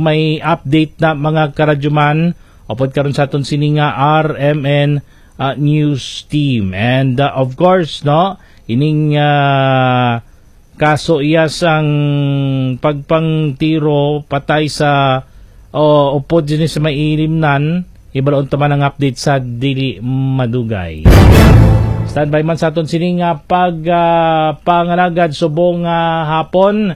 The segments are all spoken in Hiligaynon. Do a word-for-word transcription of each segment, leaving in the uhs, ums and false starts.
may update na, mga karadyoman, upod karon sa aton sini nga R M N, ah, news team. And, ah, of course, no, ining, ah, kaso iya sang pagpangtiro patay sa, o, upod din sa may ilimnan, ibalaon ta man ang update sa dili madugay. Standby man sa aton sini nga pag, ah, pangalagad subong nga hapon.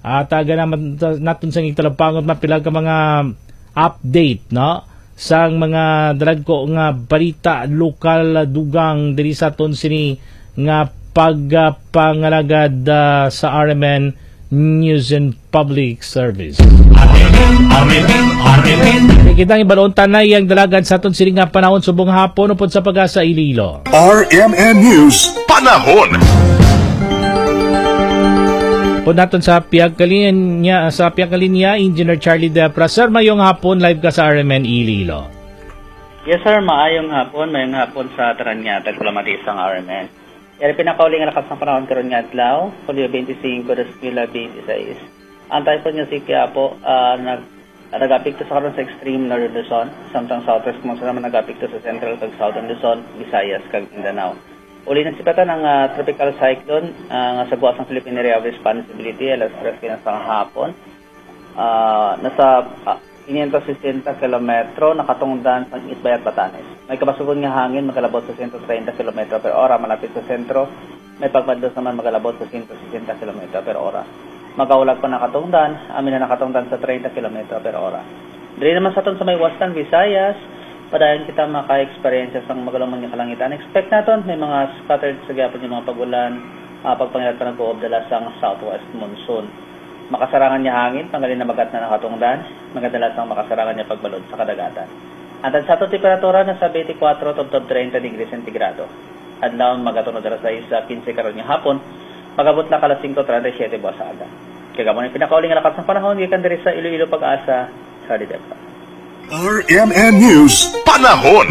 At aga naman ta-, naton sang igtalagpaon mapila ka mga update, no? Sang mga dalagko nga balita, lokal, dugang diri sa aton sini nga pagpangalagad, ah, sa R M N News and Public Service. R M N, R M N, R M N. Kita ang ibalon tanay ang dalagan sa aton sini nga panahon subong hapon upod sa pag-asa Iloilo. R M N News. Panahon. Pud naton sa piyagkalinya, sa piyagkalinya, Engineer Charlie Depra. Sir, mayong hapon, live ka sa R M N Iloilo. Yes, sir. Maayong hapon. Mayong hapon sa tanan nga tagpalamati sang R M N. Yari pinakauli nga lakas ng panahon karon nga adlaw, Hulyo twenty-five, dos mil twenty-six. Ang typhoon nga si Quiapo, ah, nag-, nag-apekto sa karon sa extreme northern Luzon, samtang southwest Monson naman nag-apekto sa central kag southern Luzon, Visayas, kag Mindanao. Uli na sipatan ang, ah, tropical cyclone, ah, nga sa buwas ng Philippine Area of Responsibility, alas tres pinas sa hapon. Ah, nasa, ah, quinientos sesenta kilometro nakatungdan sa East Bayat, Batanes. May kabasugon nga hangin magalabot sa sento treinta kilometro per ora malapit sa sentro. May pagmadlos naman magalabot sa sento sesenta kilometro per ora. Magaulag pa nakatungdan, amin na nakatungdan sa treinta kilometro per ora. Diri naman sa aton sa may Western Visayas, padayon kita maka-eksperyensya sang magalumon nga kalangitan. Expect naton may mga scattered sa gyapon nga mga pag-ulan, ah, pagpangilat pa nag-uob dala sang southwest monsoon. Makasarangan nga hangin, pangalin na magat na nakatungdan, magadala sang makasarangan nga pagbalod sa kadagatan. Ang tansatong temperatura nasa twenty-four tubtob treinta degrees centigrado. Adlaw, magatunod alas sais sa quince karon nga hapon, magabot lang alas singko treinta y siete buwas sa aga. Kag amo ni pinakauli nga lakas ng panahon gikan diri sa Iloilo, Pag-asa, Charlie Depra. R M N News, panahon.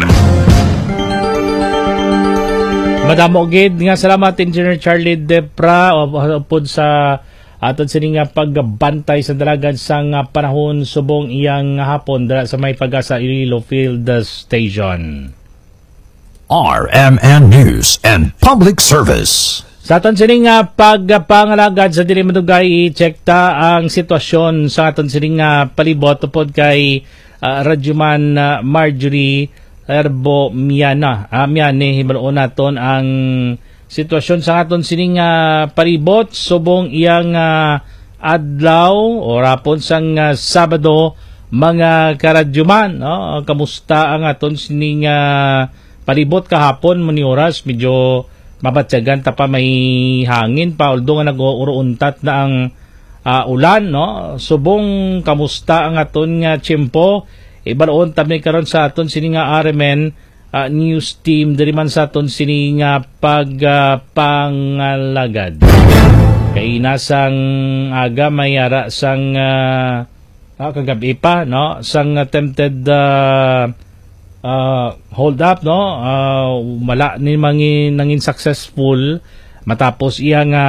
Madamo gid nga salamat, Engineer Charlie Depra, o, o, upod sa aton sini nga pagbantay sa dalagan sang, ah, panahon subong iyang hapon dala sa may Pag-asa Iloilo Field Station. R M N News and Public Service. Sa aton sini nga pagpangalagad sa dili madugay, i-check ta ang sitwasyon sa aton sini nga palibot tupod kay, ah, Radyoman, ah, Marjorie Herbo Miana. Ah, Miani, hibaluon naton ang sitwasyon sa aton sining, ah, palibot subong iyang, ah, adlaw o rapon sang, ah, Sabado, mga karadyoman, no? Kamusta ang aton sining, ah, palibot kahapon, muni oras? Medyo mabatyagan ta pa, may hangin pa, although nga nag-uuruntat na ang, ah, ulan, no? Subong, kamusta ang aton nga tiyempo? Ibalon ta mi karon sa aton sini nga R M N, ah, news team diri man sa aton sini nga pag, ah, pangalagad. Kay nasang aga may ara sang, ah, ah, kagabi pa, no, sang attempted, ah, ah, hold up, no, ah, wala ni mangi-, nangin successful matapos iya nga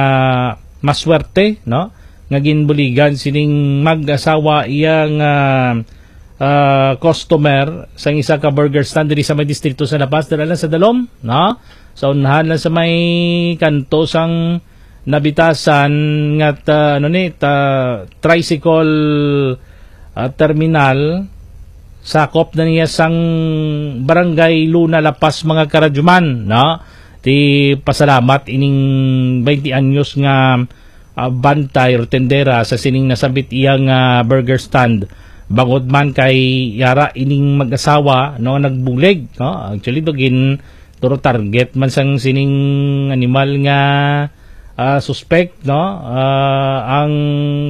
maswerte, no, nga ginbuligan sining mag-asawa iya nga, ah, customer sang isa ka burger stand diri sa may distrito sa La Paz, dira lang sa Dalom, no? Sa unahan lang sa may kanto sang Nabitasan nga ta-, ano ni, ta-, tricycle, ah, terminal, sakop na niya sang Barangay Luna, La Paz, mga karadyoman, no? Ti pasalamat ining twenty anyos nga, ah, bantay or tendera sa sining nasabit iya nga burger stand. Bangod man kay yara ining mag-asawa, no, nagbulig, no? Actually, do gin-, turo target man sang sining animal nga, ah, suspect, no? Ah, ang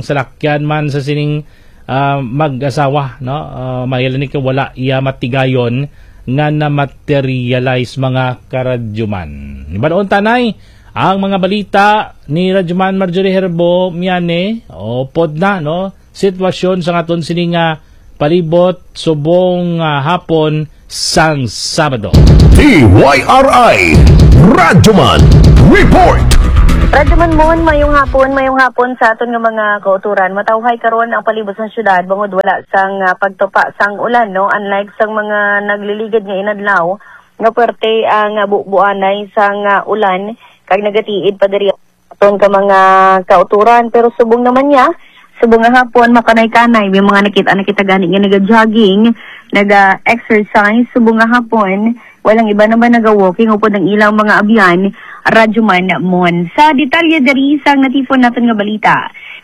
salakyan man sa sining, ah, mag-asawa, no? Ah, may ni kay wala iya matigayon nga na-materialize, mga karadyoman. Hibaluon ta anay ang mga balita ni Radyoman Marjorie Herbo Miane, o pod na, no? Sitwasyon sa aton sini nga palibot subong, ah, hapon sang Sabado. D Y R I Radyoman Report. Radyo Manmon, mayong hapon, mayong hapon sa aton nga mga kauturan. Matawhay karon ang palibot sang syudad bangod wala sang, ah, pagtupa sang ulan, no? Unlike sang mga nagliligid nga inadlaw, nga puwerte ang, ah, bu-, buanay sang, ah, ulan kag nagatiid pa diri aton ka mga kauturan. Pero subong naman niya, subong nga hapon, makanay-kanay, may mga nakita, nakita gani nga naga-jogging, naga-exercise. Subong nga hapon, walang iba naman naga-walking upod ang ilang mga abyan, Radyo Manmon. Sa detalye diri sang natifon naton nga balita,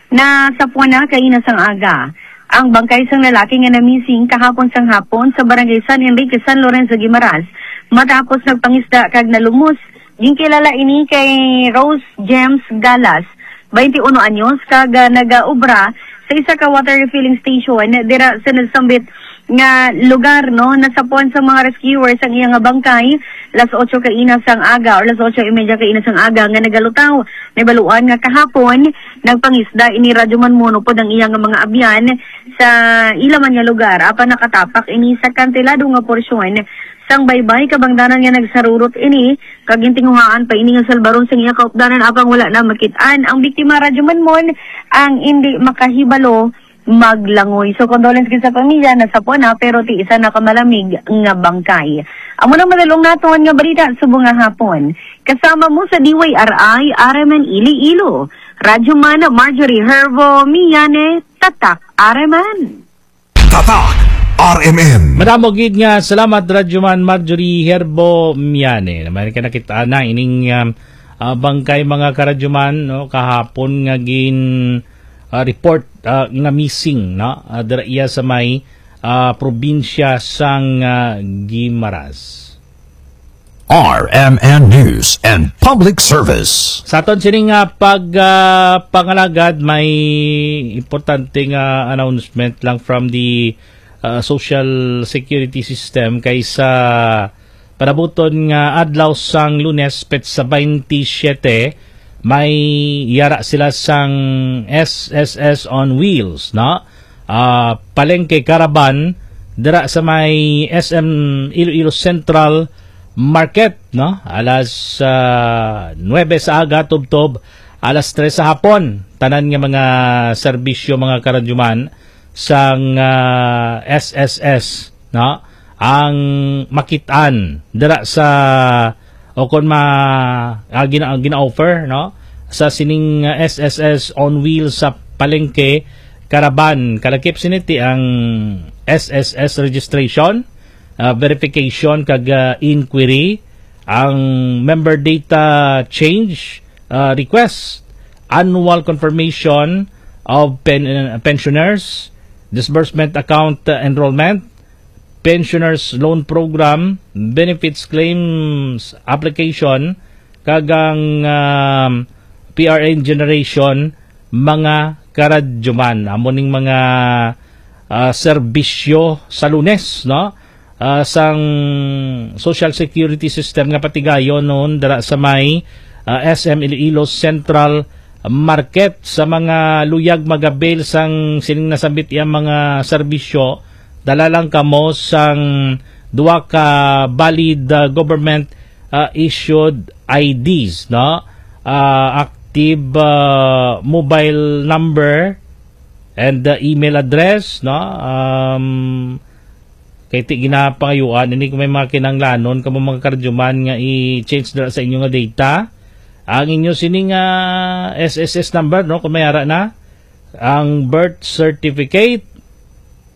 nasapuan na kaina sang aga ang bangkay sang lalaki nga namising kahapon sang hapon sa Barangay San Enrique, San Lorenzo, Guimaras, matapos nagpangisda kag nalumos. Ginkilala ini kay Rose James Galas, twenty-one anyos, kag, ah, nagaobra sa isa ka water refilling station dira sa nasambit nga lugar, no? Nasapuan sa mga rescuers ang iya nga bangkay las otso kaina sang aga or las otso y media kaina sang aga nga nagalutaw. Nabaluan nga kahapon nagpangisda ini Radyo Manmon upod ang iya nga mga abyan sa ila man nga lugar, apan nakatapak ini sa kantilado nga porsyon sang baybay, kabangdanan nga nagsarurot ini kag gintinguhaan pa ini nga salbaron sang iya kaupdanan, apang wala na makit-an ang biktima. Radyo Manmon, ang indi makahibalo maglangoy. So, condolence gid sa pamilya, nasapuan na, pero ti isa na ka malamig nga bangkay. Amo nang madalong naton nga balita subong nga hapon. Kasama mo sa D Y R I, R M N Iloilo. Radyo Man Marjorie Herbo Miyane, Tatak R M N. Tatak R M N. Madamo gid nga salamat, Radyoman Marjorie Herbo Miane. Naman ka nakita na ining, um, ah, bangkay, mga karadyoman, no, kahapon nga gin, ah, report, ah, nga missing, no, ah, dira iya sa may, ah, probinsya sang, ah, Guimaras. R M N News and Public Service. Sa aton sini nga pag, ah, pangalagad, may importante nga announcement lang from the, ah, social security system kay sa panabuton nga adlaw sang Lunes, petsa twenty-seven, may yara sila sang S S S on Wheels, no? Ah, palengke caravan dira sa may S M Iloilo Central Market, no? Alas, ah, nuebe sa aga tubtob alas tres sa hapon. Tanan nga mga serbisyo, mga karadyoman, sang, ah, S S S, no? Ang makitaan dira sa, o kon ma-, ah, gina-, gina-offer, no? Sa sining, ah, S S S on Wheels sa palengke, caravan, kalakip sini ti ang S S S registration, ah, verification kag, ah, inquiry, ang member data change, ah, request, annual confirmation of pen-, pensioners, disbursement account, ah, enrollment, pensioners loan program, benefits claims application, kag ang, um, P R N generation, mga karadyoman. Amo ning mga, ah, serbisyo sa Lunes, no? Ah, sang social security system nga patigayon noon dira sa may, ah, S M Iloilo Central Market. Sa mga luyag mag-avail sang sining nasambit iya mga serbisyo, dala lang kamo sang duha ka valid, ah, government, ah, issued I Ds, no? Ah, active, ah, mobile number and, ah, email address, no? Um, kay ti ginapangayuan ini kung may mga kinahanglanon kamo, mga karadyoman, nga i-change dira sa inyo nga data. Ang inyo sini nga S S S number, no, kung may ara na, ang birth certificate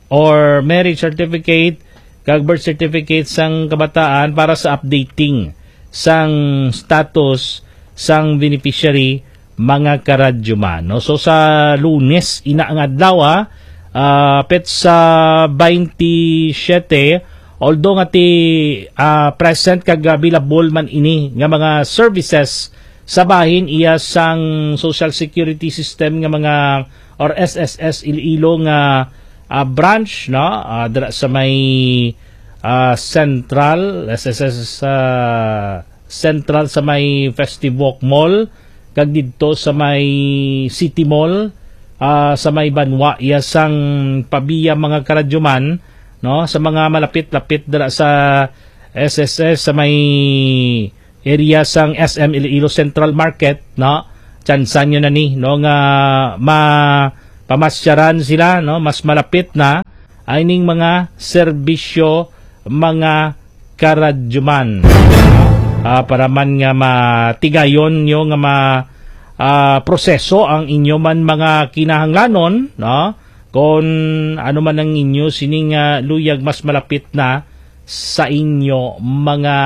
or marriage certificate kag birth certificate sang kabataan para sa updating sang status sang beneficiary, mga karadyoman, no? So, sa Lunes ina nga adlaw, ah, ah, petsa twenty-seven, although nga ti, ah, present kag available man ini nga mga services sa bahin iya sang social security system nga mga or S S S Iloilo nga, ah, branch, no? Ah, dira sa may, ah, Central, S S S, ah, Central sa may Festive Walk Mall, kag didto sa may City Mall, ah, sa may Banwa, iya sang Pavia, mga karadyoman, no? Sa mga malapit-lapit dira sa S S S, sa may area sang S M Iloilo Central Market, no? tsansa nyo na ni, no, nga mapamasyaran sila, no, mas malapit na ay ning mga serbisyo, mga karadyoman. Ah, para man nga matigayon nyo nga ma, ah, proseso ang inyo man mga kinahanglanon, no? Kon ano man ang inyo sining, ah, luyag mas malapit na sa inyo mga,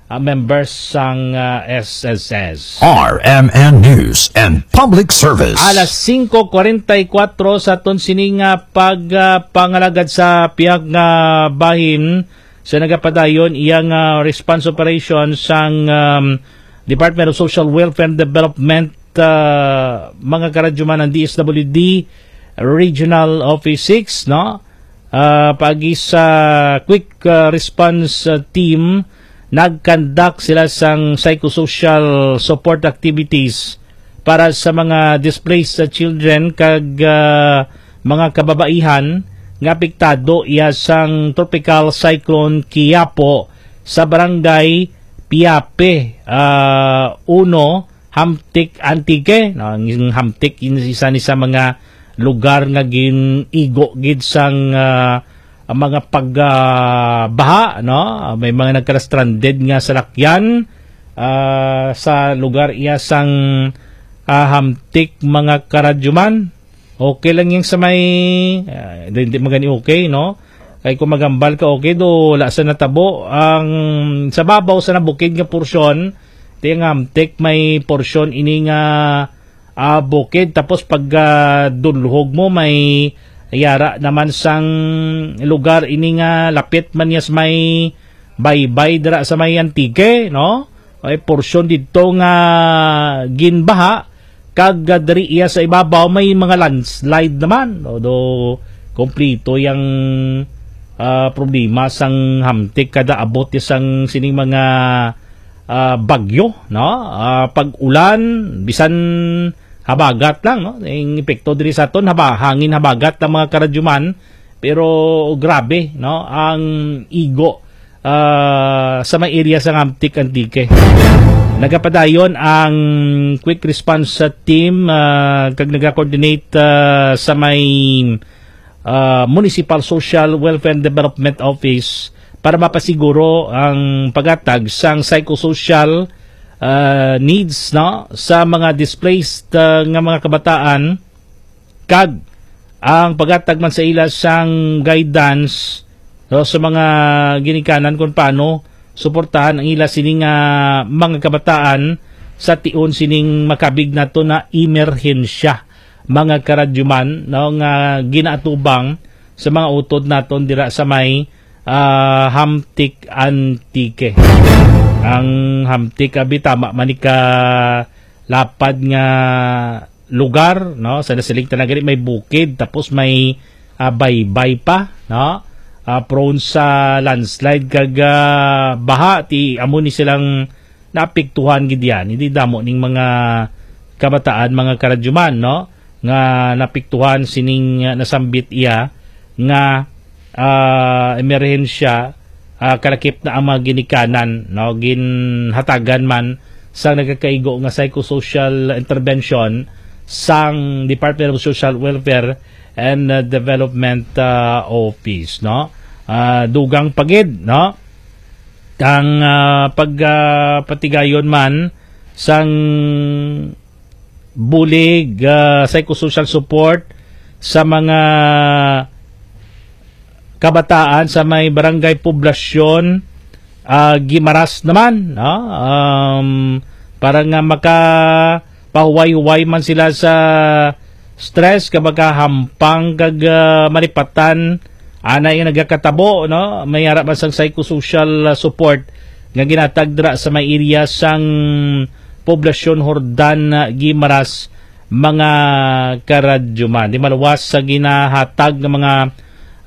ah, members sang, ah, S S S. R M N News and Public Service. Alas singko kuwarenta y kuwatro sa aton sining, ah, pag, ah, pangalagad sa pihak nga bahin sa nagapadayon iyang, ah, response operation sang, um, Department of Social Welfare and Development, ah, mga karadyoman, ang D S W D Regional Office six, no? Ah, paagi sa quick, ah, response, ah, team, nag-conduct sila sang psychosocial support activities para sa mga displaced, ah, children kag, ah, mga kababaihan nga apektado iya sang Tropical Cyclone Kiyapo sa barangay Piape, ah, uno, Hamtic, Antique. No, ang Hamtic, in-, isa ni sa mga lugar nga gin-igo gid sang, ah, ang mga pag, ah, baha, no? May mga nagka-stranded nga salakyan, ah, sa lugar iya sang, ah, Hamtic, mga karadyoman. Okay lang yung sa may, ah, di, di magani okay, no? Kay kung magambal ka, okay, do, wala sa natabo. Ang sa babaw sa nabukid nga porsyon, ti ang Hamtic may porsyon ini nga, ah, bukid. Tapos pag, ah, dulhog mo, may yara naman sang lugar ini nga lapit man niya sa may baybay dira sa may Antique, no? Ay porsyon dito nga ginbaha, kag, ah, diri iya sa ibabaw may mga landslide naman. Although, kompleto yang, ah, problema sang Hamtic kada abot ya sang sining mga, ah, bagyo, no? Ah, pag-ulan, bisan habagat lang, no? Ang epekto diri sa aton, haba-, hangin habagat ang mga karadyoman, pero grabe, no? Ang igo, ah, sa may area sa Hamtic, Antique. Nagapadayon ang quick response sa team, ah, kag nagakoordinate, ah, sa may, ah, Municipal Social Welfare and Development Office para mapasiguro ang paghatag sang psychosocial, ah, needs, no, sa mga displaced, ah, nga mga kabataan, kag ang paghatag man sa ila sang guidance, no, sa mga ginikanan kung paano suportahan ang ila sini nga mga kabataan sa tion sining makabig nato na emerhensya, mga karadyoman, no, nga ginaatubang sa mga utod naton dira sa may, ah, Hamtic, Antique. Ang Hamtic, abi, tama man ni ka lapad nga lugar, no? Sa nasiling ta na gani, may bukid, tapos may, ah, baybay pa, no? Ah, prone sa landslide kag, ah, baha, ti amo ni silang naapektuhan gid yan. Hindi damo ning mga kabataan, mga karadyoman, no? Nga naapektuhan sining, ah, nasambit iya nga, ah, emerhensya, ah, kalakip na ang mga ginikanan, no? Ginhatagan man sang nagakaigo nga psychosocial intervention sang Department of Social Welfare and, uh, Development, uh, Office, no? Ah, dugang pa gid, no? Ang, ah, pag, ah, patigayon man sang bulig, ah, psychosocial support sa mga kabataan sa may Barangay Poblasyon, ah, Guimaras naman, no? Um, para nga makapahuway-huway man sila sa stress, kag makahampang kag, ah, malipatan. Ana yung nagakatabo, no? May ara man sang psychosocial, ah, support nga ginatag dira sa may area sang Poblasyon Jordan, ah, Guimaras, mga karadyoman. Di maluwas sa ginahatag ng mga,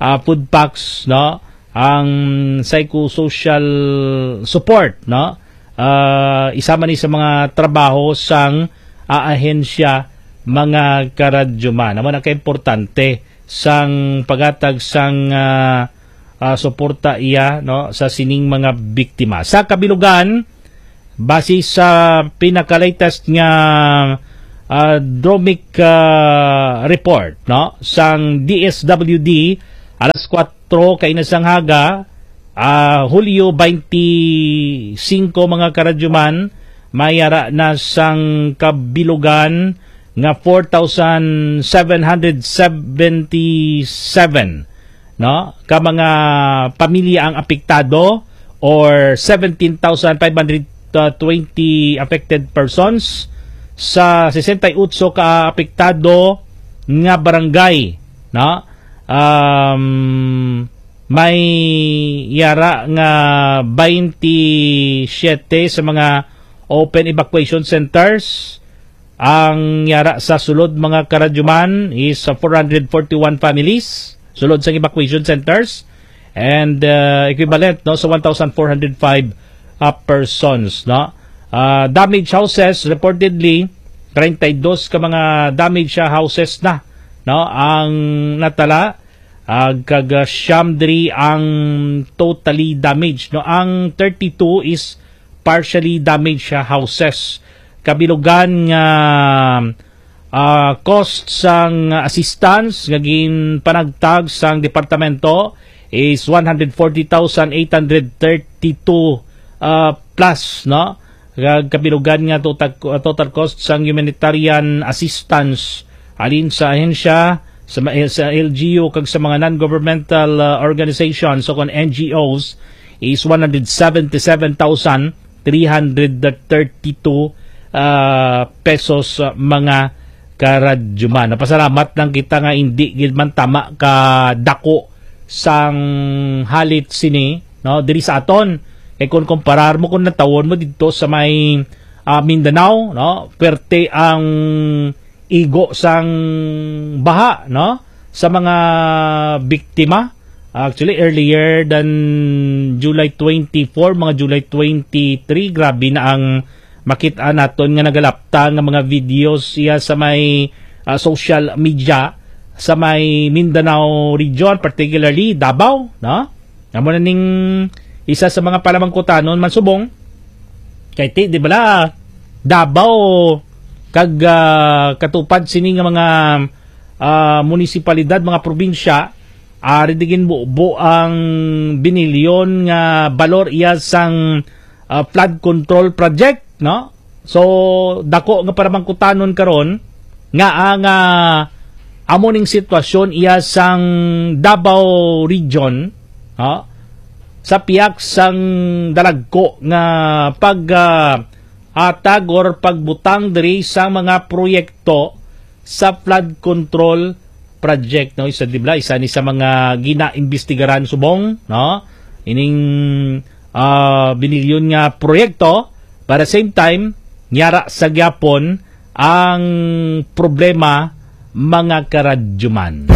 ah, food packs, no? Ang psychosocial support, no? Ah, isa man ni sa mga trabaho sang, ah, ahensya, mga karadyoman. Amo na ka importante sang paghatag sang, ah, ah, suporta iya, no, sa sining mga biktima. Sa kabilugan, base sa pinaka-latest nga, ah, dromic, ah, report, no, sang D S W D, alas kuwatro kaina sang aga, ah, Hulyo twenty-five, mga karadyoman, may ara na sang kabilugan nga four thousand seven hundred seventy-seven, no, ka mga pamilya ang apektado, or seventeen thousand five hundred twenty affected persons sa sesenta y ocho ka apektado nga barangay, no? Um, may yara nga twenty-seven sa mga open evacuation centers. Ang yara sa sulod, mga karadyoman, is, uh, four hundred forty-one families sulod sa evacuation centers, and, uh, equivalent, no, sa one thousand four hundred five, uh, persons, no. Uh, damaged houses, reportedly, treinta y dos ka mga damaged, uh, houses na, no, ang natala, uh, kag, uh, siyam diri ang totally damaged, no. Ang thirty-two is partially damaged, uh, houses. Kabilugan nga, ah, cost sang assistance nga ginpanagtag sang departamento is one hundred forty thousand eight hundred thirty-two, ah, plus, no? Kag kabilugan nga total, total cost sang humanitarian assistance halin sa ahensya, sa ma-, sa L G U kag sa mga non-governmental, ah, organizations o kon N G Os is one hundred seventy-seven thousand three hundred thirty-two, ah, pesos, ah, mga karadyoman. Napasalamat lang kita nga hindi gid man tama ka dako sang halit sini, no, diri sa aton. Kay kung kumparar mo, kung natawon mo dito sa may, ah, Mindanao, no, perte ang igo sang baha, no, sa mga biktima. Actually, earlier than July twenty-four, mga July twenty-three, grabe na ang makita naton nga nagalapta nga mga videos iya sa may, ah, social media sa may Mindanao region, particularly Davao, no? Amo na ning isa sa mga palamangkutanon man subong. Kay ti, di bala, Davao kag, ah, katupad sini nga mga, ah, munisipalidad, mga probinsya, ari di ginbubo ang binilyon nga balor iya sang, ah, flood control project, no? So, dako nga palamangkutanon karon nga ang, ah, amo ning sitwasyon iya sang Davao Region, ha? Sa piyak sang dalagko nga pag, ah, atag or pagbutang diri sa mga proyekto sa flood control project, no? Isa, di ba? Isa ni sa mga ginaimbestigaran subong, no? Ining, ah, binilyon nga proyekto, para same time, yara sa gyapon ang problema, mga karadyoman.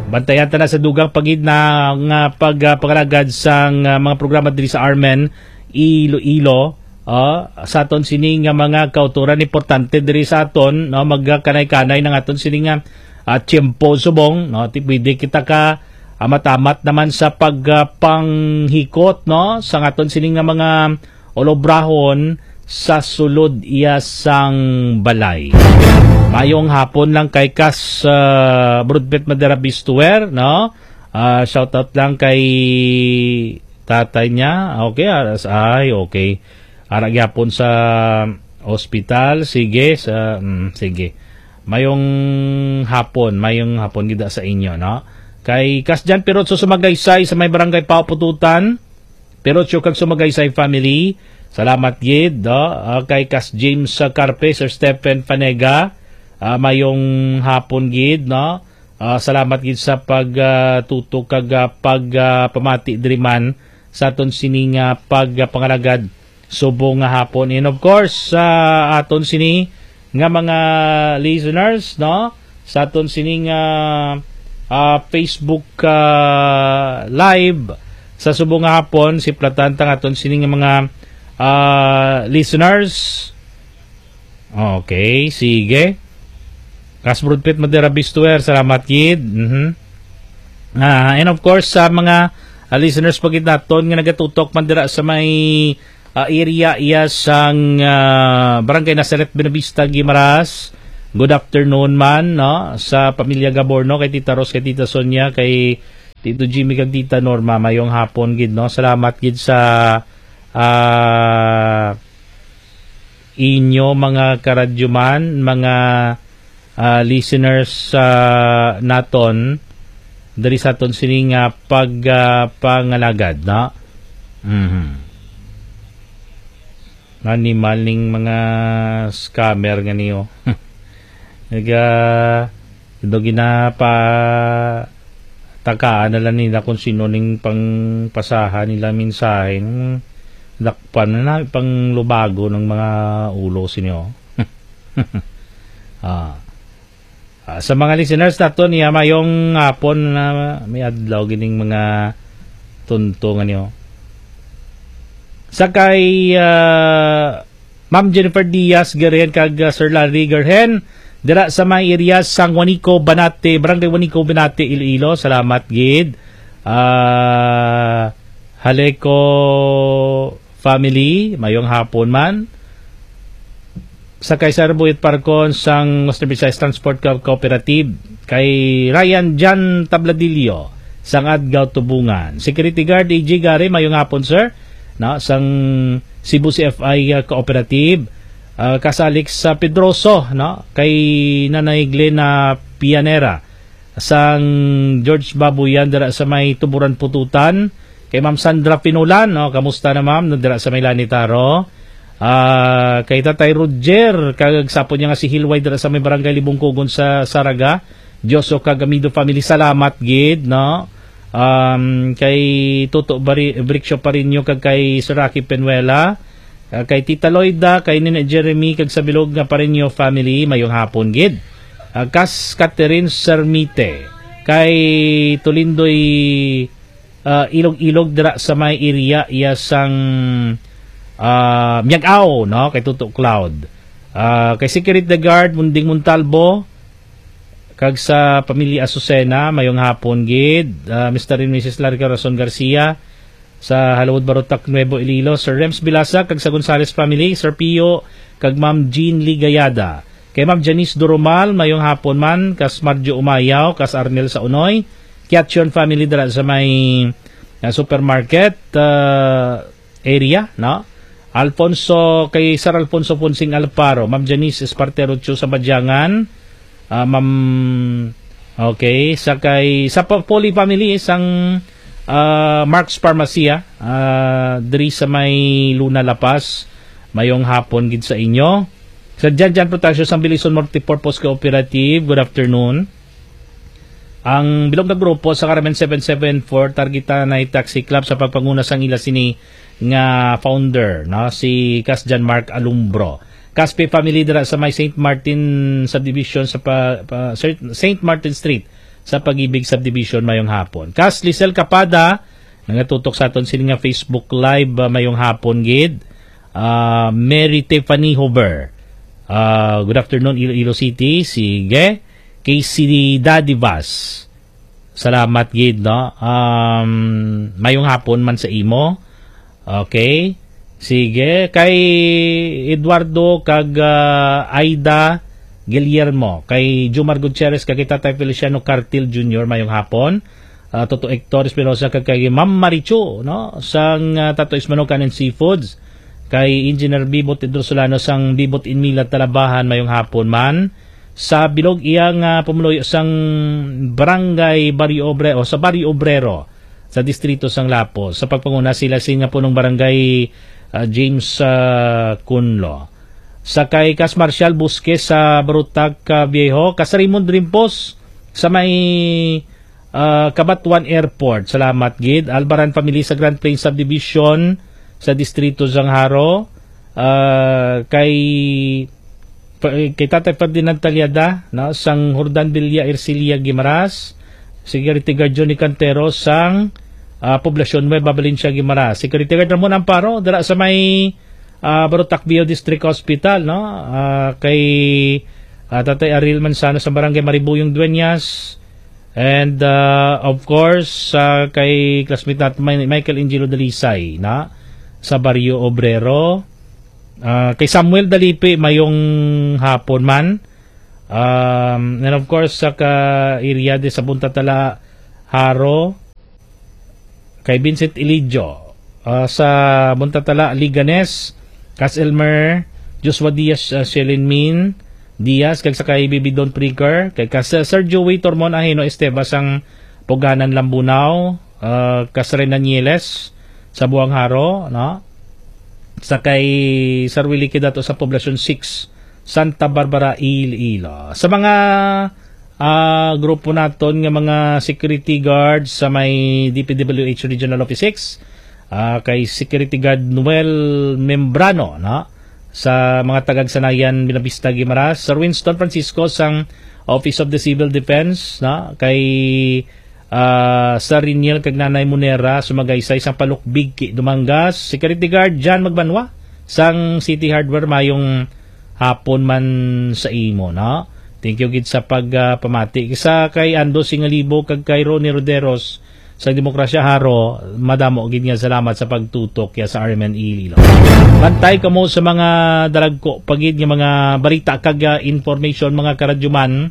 Bantayan ta na sa dugang pagid na nga pag, ah, pangalagad sang, ah, mga programa diri sa Armen, Iloilo, ah, sa aton sini nga mga kautoran, importante diri sa aton, no, magkanay-kanay ng aton sini nga, ah, tiyempo subong, no, ti pwede kita ka amat-amat naman sa pag, ah, panghikot, no, sa aton sini nga mga olobrahon sa sulod iya sang balay. Mayong hapon lang kay Kas, ah, Brudpet Madera Bistuer, no? Ah, shout out lang kay tatay niya. Okay, ah, as-, ay, okay. Ara gyapon sa ospital. Sige, sa, mm, sige. Mayong hapon, mayong hapon gid sa inyo, no? Kay Kas Jan Pirot sa Sumagaysay sa may barangay Paupututan, Pirot Siyo kag Sumagaysay family. Salamat gid, no? Ah, kay Kas James, ah, Carpe, Sir Stephen Fanega, ah, mayong hapon gid, no? Ah, salamat gid sa pag, ah, tutok kag, ah, pag, ah, pamati diri man sa aton sini nga pag, ah, pangalagad subong nga hapon. And of course, sa aton sini nga mga listeners, no? Sa aton sini nga, ah, Facebook, ah, Live sa subong nga hapon, siplatan ta nga aton sini nga mga, ah, listeners. Okay, sige. Kasbrudpit Madera Bistuer, salamat gid. Mhm. Ah, and of course, sa mga, ah, listeners pa gid naton nga nagatutok man dira sa may, ah, area iya sang, ah, Barangay Nazaret Buenavista, Guimaras. Good afternoon man, no, sa pamilya Gaborno, kay Tita Ros, kay Tita Sonia, kay Tito Jimmy, kag Tita Norma. Mayong hapon gid, no. Salamat gid sa, ah, inyo, mga karadyoman, mga, ah, listeners, ah, naton diri sa aton sini nga pag, ah, pangalagad, no? Mhm. Animal ning mga scammer nga niyo. Naga, daw ginapa-, takaan na lang nila kung sino ning pangpasahan nila mensahe. Dakpan na na pang lubago ng mga ulo sinyo. Ah. Ah, sa mga listeners nato niya, mayong hapon na may adlaw gining mga tunto nga niyo. Sa kay, ah, Ma'am Jennifer Diaz Garen kag, ah, Sir Larry Gerhen, dira sa may area sang Juanico, Banate, Barangay Juanico, Banate, Iloilo. Salamat gid. Ah, Haleco family, mayong hapon man. Sa kay Sir Buyet Parcon sang Western Visayas Transport Co-, Cooperative, kay Ryan Jan Tabladillo sang Adgaw Tubungan. Security Guard A J Gare, mayong hapon, sir. Na, sang Cebu C F I, uh, Cooperative, uh, kasalik sa Pedroso, no? Kay Nanay Glena Pianera sang George Babuyan dira sa may Tuburan Pututan. Kay Ma'am Sandra Pinulan, no? Kamusta na, ma'am? No, dira sa may Lanitaro. Ah, kay Tatay Roger, kag sapon niya nga si Hilway dira sa may Barangay Libungkugon sa Saraga. Dioso kag Amido family, salamat gid, no? Um, kay Toto Bari-, Briccio Parinio kag kay Sir Rocky Penuela, ah, kay Tita Loida, kay Nina Jeremy kag sa bilog nga Parinio family, mayong hapon gid. Ah, kas Catherine Sermite, kay Tulindoy, ah, Ilog-Ilog dira sa may area iya sang, ah, Miag-Ao, no? Kay Toto Cloud. Ah, kay Security Guard Munding Montalbo, kag sa pamilya Azucena, mayong hapon gid. Ah, Mister and Missus Larry Corazon Garcia, sa Halawod Barotac, Nuevo Iloilo, Sir Rems Bilasa, kag sa Gonzales family, Sir Pio, kag Ma'am Jean Lee Gayada. Kay Ma'am Janice Durumal, mayong hapon man, kas Marjo Umayaw, kas Arnel sa Unoy, Kiachon family dira sa may, ah, supermarket, ah, area, no? Alfonso, kay Sir Alfonso Fonsing Alparo, Ma'am Janice Espartero Chu sa Badyangan, ah, Ma'am, okay, sa kay, sa pa-, Poly family, sang, ah, Mark's Pharmacia, ah, diri sa may Luna, La Paz, mayong hapon gid sa inyo. Sa Jan Jan Protasio sang Bilison Multipurpose Cooperative, good afternoon. Ang bilog nga grupo sa Carmen seven seven four, targeta na Taxi Club sa pagpanguna sang ila sini nga founder, no, si Kas John Mark Alumbro. Caspe family dira sa may Saint Martin Subdivision sa pa, pa, Saint Martin Street sa Pag-ibig Subdivision, mayong hapon. Kas Lisel Capada, nagatutok sa aton sini nga Facebook Live, ah, mayong hapon gid. Ah, Mary Tiffany Hover. Ah, good afternoon, Iloilo City. Sige. Kay si Daddy Vaz. Salamat gid, no? Um, mayong hapon man sa imo. Okay. Sige. Kay Eduardo kag, ah, Aida Guillermo. Kay Jumar Gutierrez, kag kay Tatay Feliciano Cartil Junior, mayong hapon. Ah, Toto Hector Espinosa, kag kay Ma'am Marichu, no? Sang, ah, Tato Ismano Kanin Seafoods. Kay Engineer Bibot Pedro Solano sang Bibot Inmila, Talabahan, mayong hapon man. Sa bilog iya nga pumuluyo sang Barangay Barrio Obrero, o sa Barrio Obrero, sa Distrito sang Lapu-, sa pagpanguna sila sing nga punong barangay, ah, James, ah, Cunlo. Sa kay Kas Marshal Busque sa Barotac, ah, Viejo, Kas Raymond Rimpos sa may, ah, Cabatuan Airport. Salamat gid. Albaran family sa Grand Plains Subdivision sa Distrito sang Jaro. Ah, kay pa-, kay Tatay Ferdinand Talyada, no, sang Jordan Villa, Ercilia, Guimaras, Security Guard Johnny Cantero sang, ah, Poblacion Nueva, Valencia, Guimaras, Security Guard Ramon Amparo dira sa may, ah, Barotac Viejo District Hospital, no, ah, kay, ah, Tatay Ariel Manzano sa Barangay Maribuyong Dueñas, and, ah, of course, ah, kay classmate natin, Mi-, Michael Angelo Dalisay, na sa Barrio Obrero. Ah, kay Samuel Dalipi, mayong hapon man. Um, and of course, sa ka-area di sa Buntatala, Jaro, kay Vincent Ilidio, ah, sa Buntatala, Liganes, Cas Elmer, Joshua Diaz, ah, Shelin Min Diaz, kag sa kay Bibi Don Pricker, kay Cas Sergio Way Tormon Ahino Esteva sang Puganan Lambunao, ah, Cas Renan Nieles sa Buang Jaro, no? Sa kay Sir Willie Kidato sa Poblacion six, Santa Barbara, Iloilo. Sa mga, ah, grupo naton nga mga security guards sa may D P W H Regional Office six, ah, kay Security Guard Noel Membrano, no? Sa mga tagagsanayan, Buenavista, Guimaras, Sir Winston Francisco sang Office of the Civil Defense, no? Kay ah, sa Riniel kag Nanay Monera, sumagaysay sang Palukbig, Dumangas, Security Guard Jan Magbanwa sang City Hardware, mayong hapon man sa imo, no? Thank you gid sa pag, ah, pamati. Sa kay Ando Singalibo kag kay Ronnie Roderos sa Demokrasya Jaro, madamo gid nga salamat sa pagtutok ya sa R M N Iloilo. Bantay kamo sa mga dalagko pa gid nga mga balita kag, ah, information, mga karadyoman,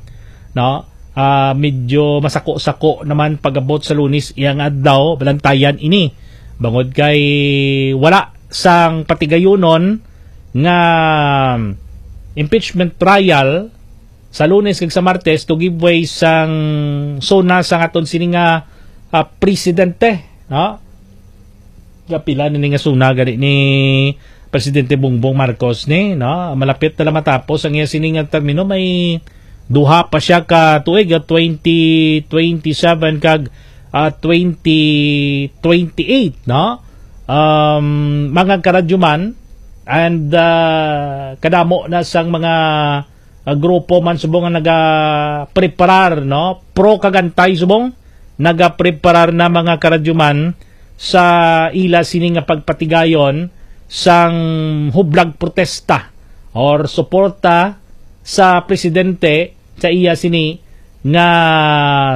no? Ah, medyo masako-sako naman pag-abot sa Lunes iyang adlaw, balantayan ini. Bangod kay wala sang patigayunon nga impeachment trial sa Lunes kag sa Martes to give way sang SONA sang aton sini nga, ah, presidente, no? Gapila na ni nga SONA gani ni Presidente Bongbong Marcos ni, no? Malapit na lang matapos ang iya sini nga termino. May duha pa siya ka tuig, ah, twenty twenty-seven kag, ah, twenty twenty-eight, no? Um, mga karadyoman, and, ah, kadamo na sang mga, ah, grupo man subong nga nagapreparar, no? Pro kag anti subong, nagapreparar na, mga karadyoman, sa ila sini nga pagpatigayon sang hublag protesta or suporta sa presidente sa iya sini nga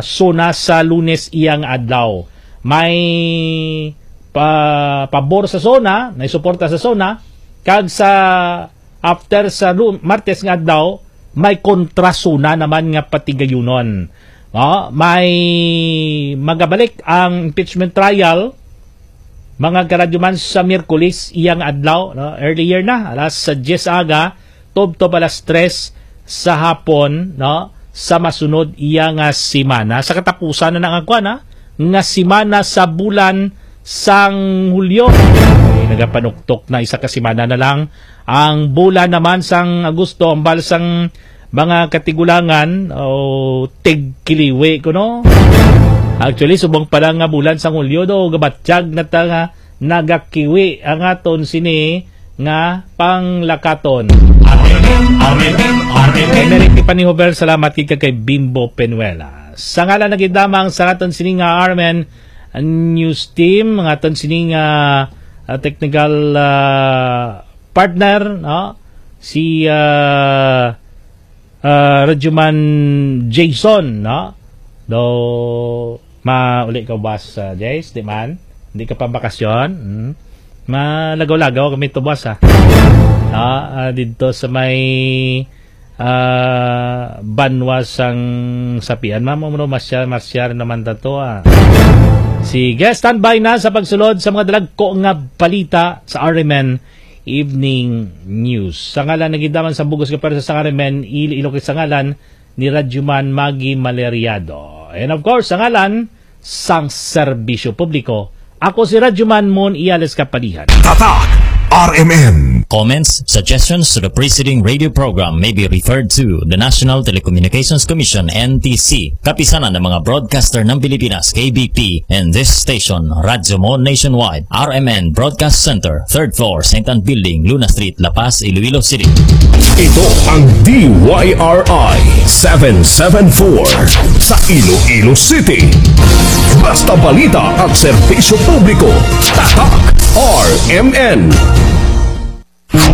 SONA sa Lunes iyang adlaw. May pa-, pabor sa SONA, may suporta sa SONA, kag sa after sa Lu-, Martes nga adlaw, may kontra SONA naman nga patigayunon. No? May magabalik ang impeachment trial, mga karadyoman, sa Miyerkules iyang adlaw, no? Earlier na, alas diyes aga, tubtob alas tres sa hapon, no? Sa masunod iya nga semana. Sa katapusan na nga kuwan, ha? Nga semana sa bulan sang Hulyo. Ay, nagapanuktok na, isa ka semana na lang ang bulan naman sang Agosto, ambal sang mga katigulangan o tigkiliwi, kuno. Actually, subong pa lang nga bulan sang Hulyo do, gabatyag na ta nga nagakiwi ang aton sini nga panglakaton. R M N, R M N, R M N. Kay Merrick Tiffany Hover, salamat gid kay Bimbo Penuela. Sa ngalan na gid lamang sa aton sini nga R M N News Team, ang aton sini nga, ah, technical, ah, partner, no? Si, ah, ah, Radyoman Jason, no? Do, mauli ka ubas, ah, Jace, di man? Di ka pa bakasyon? Hmm? Malagaw-lagaw kami to, boss, ah. No? Ah, dito sa may, ah, banwa sang Sapian, ma'am, umano, masyar, masyar naman ta to, ah. Sige, standby na sa pagsulod sa mga dalagko nga balita sa R M N Evening News. Sa ngalan na gid naman sa bugos nga pwersa sa R M N Iloilo, kag sa ngalan ni Radyoman Maggie Maleriado. And of course, sa ngalan sang serbisyo publiko, ako si Radyoman Mon Iales Kapalihan. Tatak R M N. Comments, suggestions to the preceding radio program may be referred to the National Telecommunications Commission, N T C, Kapisanan ng mga Broadcaster ng Pilipinas, K B P, and this station, Radyo Mon Nationwide, R M N Broadcast Center, third floor, Saint Ann Building, Luna Street, La Paz, Iloilo City. Ito ang D Y R I seven seven four sa Iloilo City. Basta balita at serbisyo publiko, Tatak R M N.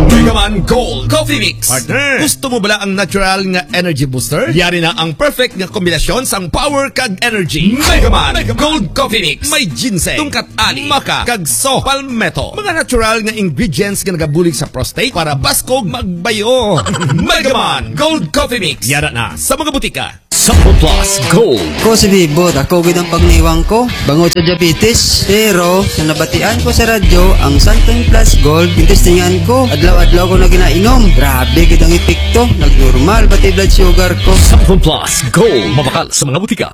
Megaman Gold Coffee Mix. Partner, gusto mo bala ang natural nga energy booster? Yari na ang perfect nga kombinasyon sang power kag energy. Megaman Gold Coffee Mix. May ginseng, tungkat ali, maca, kag soy palmetto. Mga natural nga ingredients nga nagabulig sa prostate para baskog magbayo. Megaman Gold Coffee Mix. Yara na sa mga butika. Sample Plus Gold. Ko si Bibot, ako gid ang pagniwang ko bangod sa diabetes. Pero sa nabatian ko sa radyo, ang Santon Plus Gold, ginestingan ko. Adlaw-adlaw ko na ginainom. Grabe gid ang epekto. Nagnormal pati blood sugar ko. Sample Plus Gold. Mabakal sa mga butika.